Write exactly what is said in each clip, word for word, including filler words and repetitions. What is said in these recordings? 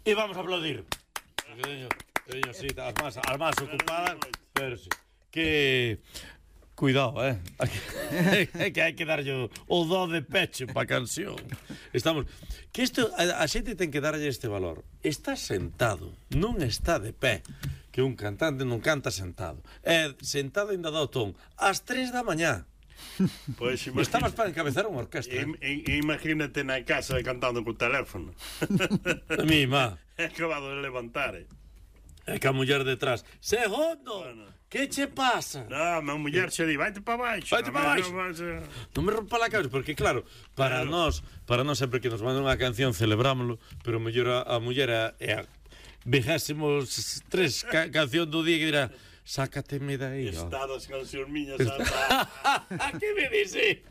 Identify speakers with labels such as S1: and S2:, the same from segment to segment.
S1: E vamos a aplaudir. Teño, teño, sí, as más, as más ocupadas, pero sí. Que... Cuidado, eh? É que hai que darlle o dó de peche pa canción. Estamos... Que isto, a, a xente ten que darlle este valor. Está sentado, non está de pé. Que un cantante non canta sentado. É sentado ainda dá o ton. Ás tres da mañá.
S2: Pois
S1: imagina... Estabas para encabezar unha orquestra.
S2: I, I, imagínate na casa cantando co teléfono.
S1: A mi, má.
S2: É acabado de levantar, eh?
S1: É que a muller detrás. Segundo! Bueno. Que che pasa?
S2: Non, a muller xe di, vaite pa baixo.
S1: Vaite pa baixo. Non me rompa la cabeza, porque claro, para claro. nós, para nós sempre que nos mandan unha canción celebrámoslo, pero mellor a, a muller é a vigésimo tres ca canción do día que dirá sácateme daí.
S2: Estadas cancións miñas.
S1: Que me dice?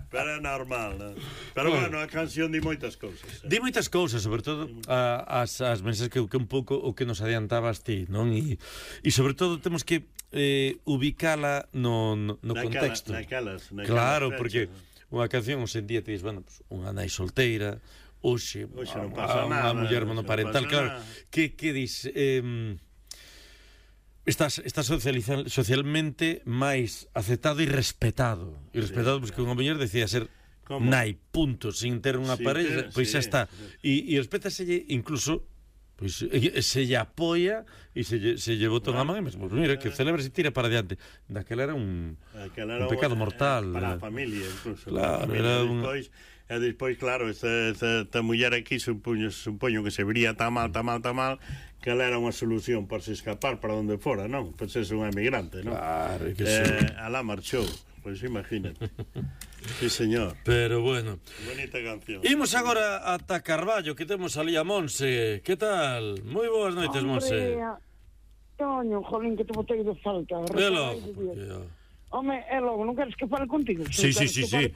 S2: Pero é normal, non? Pero bueno, a canción di moitas cousas. Eh?
S1: Di moitas cousas, sobre todo a, as, as mensaxes que, que un pouco o que nos adiantabas ti, non? E, e sobre todo temos que eh, ubicala no, no, no contexto.
S2: Naquelas, naquelas
S1: claro,
S2: fechas,
S1: porque
S2: ¿no?
S1: Unha canción hoxe en día te dis, bueno, pues, unha nai solteira, hoxe,
S2: hoxe non pasa
S1: a,
S2: nada,
S1: unha muller monoparental, claro, que, que dis... Eh, Estás, estás socialmente máis aceptado e respetado. E respetado, sí, porque unha muller decía ser ¿Cómo? nai, punto, sin ter unha sí, pareja, pois sí, xa está. E, e respétaselle incluso, pois se lle apoia e se lle, se lle bota unha man, e mesmo, mira, que celebra e tira para diante. Daquela era un, era un pecado mortal.
S2: Para a familia, incluso.
S1: Claro,
S2: familia,
S1: era un...
S2: Despois, e despois, claro, esta, esta, esta muller aquí supoño, supoño que se vería tan mal, tan mal, tan mal, que ela era unha solución para se escapar para onde fora, non? Pois é un emigrante, non?
S1: Claro, que
S2: eh, sí. Alá marchou, pois imagínate. Sí, señor.
S1: Pero bueno.
S2: Bonita canción.
S1: Imos agora ata Carballo, que temos ali a Monse. Que tal? Moi boas noites, Monse.
S3: Toño, jolín, que te botei de falta.
S1: Velo.
S3: Home, é logo, non queres que fale contigo?
S1: Sí, sí, sí, sí.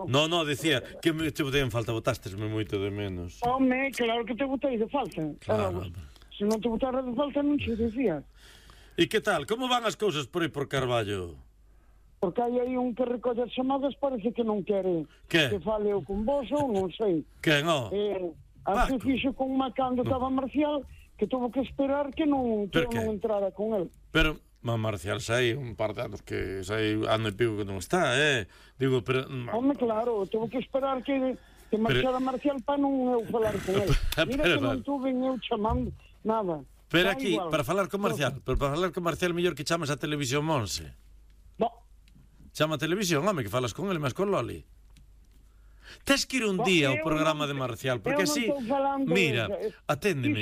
S3: Non,
S1: no, no, decía que me te botei en falta, botástesme moito de menos.
S3: Home, claro que te botei de falta.
S1: Claro.
S3: Se non te botara de falta, non te decía.
S1: E que tal? Como van as cousas por aí por Carballo?
S3: Porque hai aí un que recolle as chamadas, parece que non quere
S1: que,
S3: que fale eu con vos ou non sei.
S1: Que non?
S3: Eh, así fixo con má cando estaba Marcial, que tuvo que esperar que non, que non entrara con el.
S1: Pero... Ma Marcial sai un par de anos que sai ano e pico que non está, eh? Digo, pero...
S3: Home, claro, tuvo que esperar que, que marchara pero... Marcial para non eu falar con el. Mira pero, que non tuve eu chamando nada.
S1: Pero aquí, igual. Para falar con Marcial, pero para falar con Marcial mellor que chamas a Televisión Monse.
S3: No.
S1: Chama a Televisión, home, que falas con ele, mas con Loli. Tes que ir un día ao programa de Marcial, porque así, mira, aténdeme.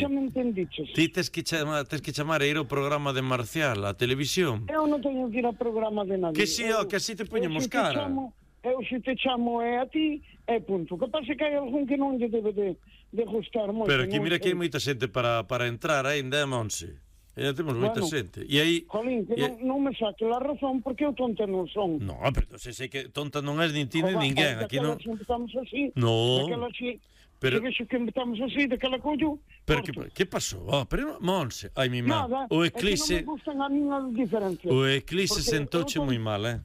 S1: Ti tes que chamar, tes que chamar a ir ao programa de Marcial, a televisión.
S3: Eu non teño que ir ao programa de nadie.
S1: Que si, ó, que así te poñemos cara.
S3: Eu se te chamo é a ti, é punto. Que pasa que hai algún que non lle debe de, de gustar moito.
S1: Pero aquí mira que hai moita xente para, para entrar ainda, Monse. E temos moita bueno, xente. E aí...
S3: Jolín, que non, non me saque la razón porque eu tonta non son.
S1: No, pero se sei que tonta non és nin ti nin ninguén. Aquí non...
S3: empezamos así.
S1: No.
S3: Daquela así.
S1: Pero...
S3: Que vexo que empezamos así, daquela collo.
S1: Pero que, que pasou? Oh, pero Monse, ai mi má.
S3: Nada,
S1: o eclipse...
S3: é que non me gustan a min as diferencias.
S1: O eclipse sentouche moi mal, eh?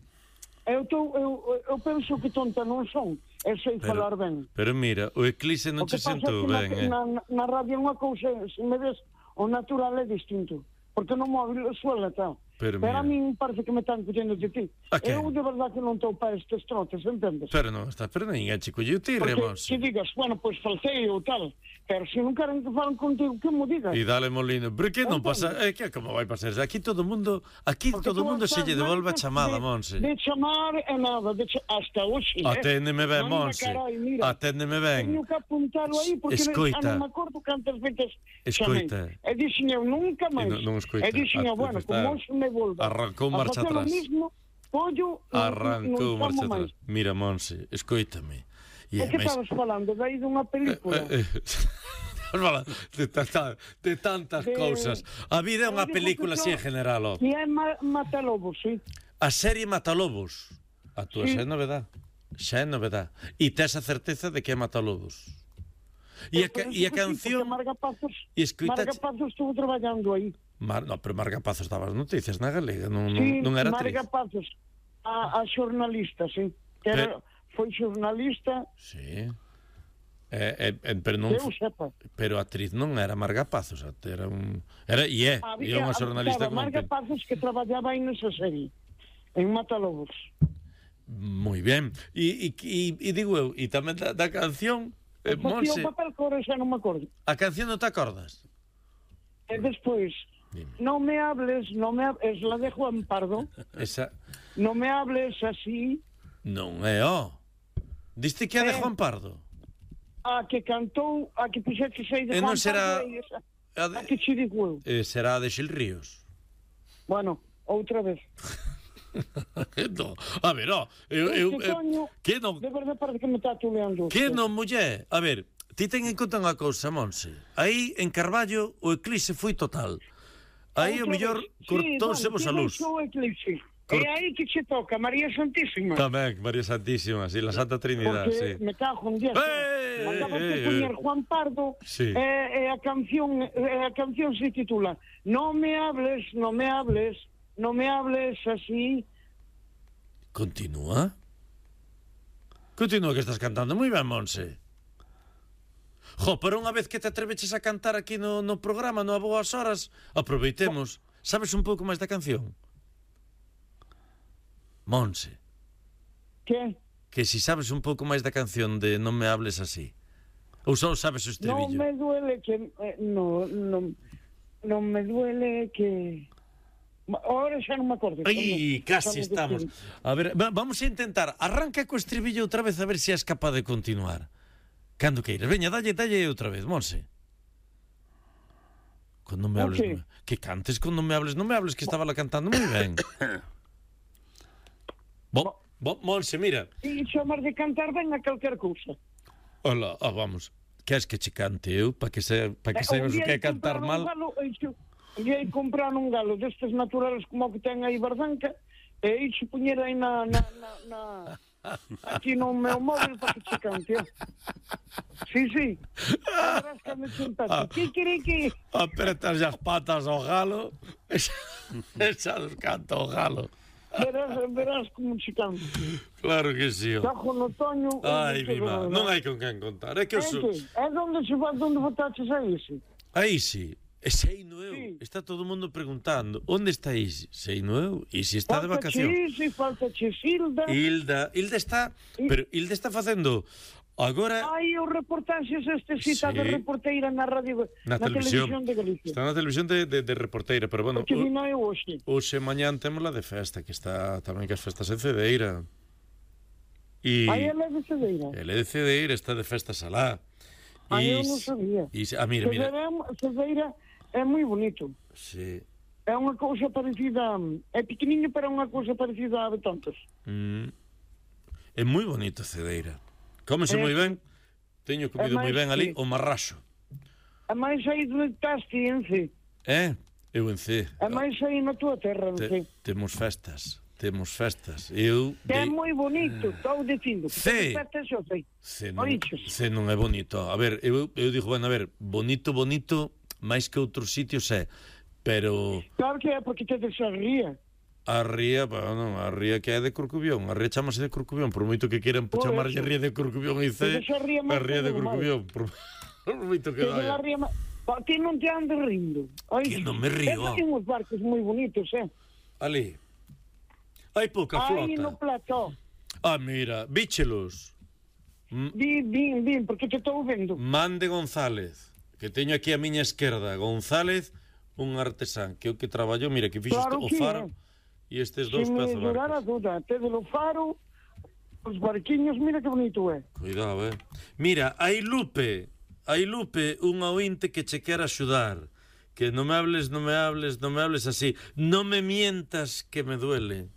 S3: Eu, tô, eu, eu penso que tonta non son. Eu sei pero, falar ben.
S1: Pero mira, o eclipse non che sentou ben, eh?
S3: Na, na radio unha cousa, se me ves, o natural é distinto. Porque no móvil suela, tal.
S1: Pero,
S3: pero a mí parece que me están collendo de ti. Eu de verdade que non estou para estes trotes, entendes?
S1: Pero non está, pero ninguén che colleu ti, Remos.
S3: Porque, que digas, bueno, pois pues, faltei ou tal, pero se non queren que falen contigo, que mo digas?
S1: E dale molino, pero que non pasa, é que como vai pasar? Aquí todo o mundo, aquí porque todo o mundo se lle devolve a chamada,
S3: de,
S1: Monse.
S3: De chamar é nada, de ch hasta hoxe, eh?
S1: Aténdeme ben, Monse. Aténdeme ben.
S3: Teño que apuntalo aí, porque
S1: escoita.
S3: non me acordo cantas veces
S1: escoita.
S3: chamei. E dixen eu, nunca máis.
S1: E non, non escoita.
S3: E dixen eu, bueno, como se me volva.
S1: Arrancou marcha atrás.
S3: Mismo, pollo,
S1: Arrancou marcha atrás. Mira, Monse, escoítame.
S3: E que estabas falando? De aí dunha película?
S1: Eh, eh, de, tanta, de tantas de... cousas. A vida é unha película así en general.
S3: E é ma Matalobos, sí.
S1: A serie Matalobos. A túa
S3: sí.
S1: xa é novedad. Xa é novedad. E tes a certeza de que é Matalobos. E a, e a canción...
S3: Sí, Marga Pazos,
S1: escoita...
S3: Marga Pazos estuvo traballando aí.
S1: Mar... No, pero Marga Pazos daba as noticias na galega, non,
S3: sí,
S1: non era
S3: Marga
S1: actriz.
S3: Pazos, a, a xornalista, sí. Que era,
S1: pero...
S3: foi xornalista.
S1: Sí. Eh, eh, pero non,
S3: eu sepa.
S1: pero a actriz non era Marga Pazos, era un era e é, e é unha xornalista
S3: como Marga Pazos que traballaba aí nesa serie en Matalobos.
S1: Moi ben. E, e, e, e digo eu, e tamén da, da canción eh,
S3: Monse,
S1: Monse,
S3: o papel que ahora xa non me acordo.
S1: a canción non te acordas?
S3: E despois, non me hables, non me hables, es la de Juan Pardo.
S1: Esa
S3: Non me hables así.
S1: non é, ó. Diste que é de
S3: Eh.
S1: Juan Pardo?
S3: A que cantou, a que puxete sei de
S1: E non
S3: Juan
S1: será
S3: Pardo. e esa,
S1: a de-
S3: a que che digo eu.
S1: Eh, será de Xil Ríos.
S3: Bueno, outra vez.
S1: No, a ver, ó, eu, eu,
S3: Este
S1: eu,
S3: Toño,
S1: que non,
S3: de verdade parece que me está tuleando.
S1: que non, muller? A ver, ti ten en conta unha cousa, Monse. Aí, en Carballo, o eclipse foi total. Aí, o mellor, cortousemos a luz.
S3: Sí, bueno, eclipse.
S1: Cort-
S3: É aí que che toca, María Santísima.
S1: Tamén, María Santísima, sí, la Santa Trinidad,
S3: Porque
S1: sí.
S3: me cago en Dios.
S1: Eh,
S3: Acabas
S1: eh,
S3: de
S1: eh,
S3: poñer
S1: eh.
S3: Juan Pardo
S1: Sí.
S3: e, e a canción e a canción se titula No me hables, no me hables, no me hables así.
S1: Continúa. Continúa que estás cantando moi ben, Monse. Jo, pero unha vez que te atreveches a cantar aquí no, no programa, no A Boas Horas, aproveitemos. Sabes un pouco máis da canción? Monse,
S3: Que?
S1: que si sabes un pouco máis da canción de Non me hables así. Ou só sabes o
S3: No
S1: estribillo?
S3: me duele que eh, no, no, no me duele que ahora xa non me acordo.
S1: Ai, casi
S3: Xa me
S1: estamos.
S3: despedí.
S1: A ver, va- vamos a intentar. Arranca co estribillo outra vez a ver se és capaz de continuar. Cando queiras. Veña, dalle, dalle outra vez, Monse. Con Non me hables,
S3: Ok.
S1: non me... Que cantes con Non me hables, non me hables, que estaba la cantando moi ben. Bo, bo, Monse, mira.
S3: E chamar de cantar ben a calquer cousa.
S1: Hola, ah, vamos. Queres que che cante eu para que se para que
S3: Eh,
S1: saibas
S3: un
S1: o
S3: día
S1: que é
S3: hai
S1: cantar
S3: comprar un
S1: mal?
S3: Galo, eixe, un día hai comprar un galo destes naturales como o que ten aí Bardanca e eixe poñer aí na, na, na, na aquí no meu móvil para que che cante. ó. Sí, sí. Verás que me sentaste.
S1: Ah.
S3: Que quere que...
S1: Apretas as patas ao galo. Esa nos canta o galo.
S3: Verás, verás como che cante.
S1: Claro que sí. Ó.
S3: Tajo no Toño...
S1: Ai,
S3: onde
S1: mi
S3: se
S1: má,
S3: vai,
S1: non hai con quen contar. É que eu
S3: É
S1: sou...
S3: que? É donde se vai, donde votaches a ese?
S1: Aí sí. E sei no eu.
S3: Sí.
S1: Está todo o mundo preguntando onde está Isi. Sei no eu. Isi está de vacación.
S3: Falta che falta che Silda.
S1: Hilda, Hilda está, pero Hilda está facendo agora
S3: Hai os reportaxes este cita
S1: Sí.
S3: de reporteira na radio
S1: na,
S3: na
S1: televisión.
S3: televisión de Galicia.
S1: Está na televisión de, de, de reporteira, pero bueno,
S3: Porque vino eu hoxe.
S1: hoxe mañán temos la de festa, que está tamén que as festas en Cedeira. E
S3: Aí ela é de Cedeira.
S1: ele é de Cedeira, está de festas alá.
S3: Aí
S1: E
S3: eu non
S1: s-
S3: sabía.
S1: E, s- ah, mira, mira.
S3: Cedeira, é- Cedeira é moi bonito.
S1: Sí.
S3: É unha cousa parecida... É pequeniño, pero é unha cousa parecida a Betontos.
S1: Mm. É moi bonito Cedeira. Cómese
S3: É.
S1: moi ben. Teño comido moi
S3: máis
S1: ben ali
S3: que-
S1: o marraxo.
S3: É máis aí donde estás ti, en C.
S1: Eh? Eu en C.
S3: É máis aí na túa terra, en C.
S1: Te, temos festas. Temos festas. Eu
S3: Que é
S1: dei-
S3: moi bonito, estou dicindo.
S1: C.
S3: Perfecto, xo sei.
S1: Se non,
S3: Oiches.
S1: se non é bonito. A ver, eu, eu digo, bueno, a ver, bonito, bonito, máis que outros sitios é, pero
S3: Claro que é, porque te desarría.
S1: a ría, bueno, a ría que é de Corcubión, a ría chamase de Corcubión, por moito que queiran
S3: Por
S1: chamarlle
S3: eso.
S1: ría de Corcubión e C,
S3: Pero esa ría
S1: a
S3: máis
S1: ría de
S3: que normal.
S1: Corcubión, por, por moito que
S3: Que de la
S1: vaya.
S3: ría... ma- Pa, ti non te andes rindo. Oiches.
S1: Que non me río.
S3: É que hai uns barcos moi bonitos, eh?
S1: Ali, hai pouca
S3: Aí no
S1: flota.
S3: plató.
S1: Ah, mira, bíchelos.
S3: Vin, vin, vin, porque te estou vendo.
S1: Mande González, que teño aquí a miña esquerda, González, un artesán, que é o que traballou, mira, que fixo
S3: Claro
S1: o
S3: que
S1: faro
S3: é.
S1: e estes
S3: Se
S1: dous
S3: me
S1: pezos
S3: durara a
S1: barcos.
S3: duda, te de lo faro, os barquiños, mira que bonito é.
S1: Cuidado, eh. Mira, hai Lupe, hai Lupe, un ointe que che quer axudar. Que non me hables, non me hables, non me hables así. Non me mientas que me duele.